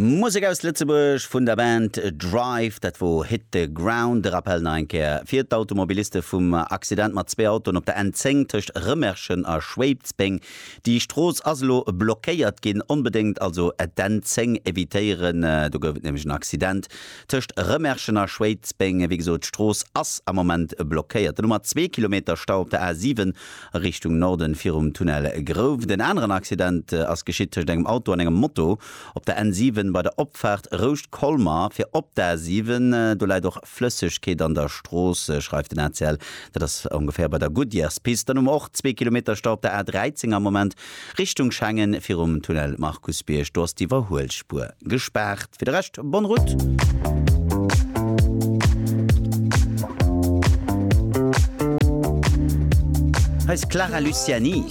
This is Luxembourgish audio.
Musek aus Lëtzebuerg vun der Band Drive, dat wor Hit the Ground. De Rappel nach eng Kéier fir d'Automobiliste vum Accident mat zwee Autoen op der N10 tëscht Rëmerschen a Schwéidsbeng. Déi Strooss ass elo blockéiert ginn. Onbedéngt also d'N10 evitéieren, do gouf et nämlech en Accident tëscht Rëmerschen a Schwéidsbeng. Wéi gesot, d'Strooss ass am Moment blockéiert. Dann hu mer zwee Kilometer Stau op der A7 A Richtung Norden virum Tunnel Grouft. En aneren Accident ass geschitt tëscht engem Auto an engem Moto op der N7 bei der Opfaart Rouscht-Colmer fir op d'A7. Do läit och Flëssegkeet an der Strooss, schreift den ACL. Dat ass ongeféier bei der Goodyearspist. Dann hu mer och zwee Kilometer Stau op der A13 am Moment Richtung Schengen virum Tunnel Markusbierg. Do ass d'Iwwerhuelspuer gespaart. Fir de Rescht, bonne route! Hei ass d'Clara Luciani.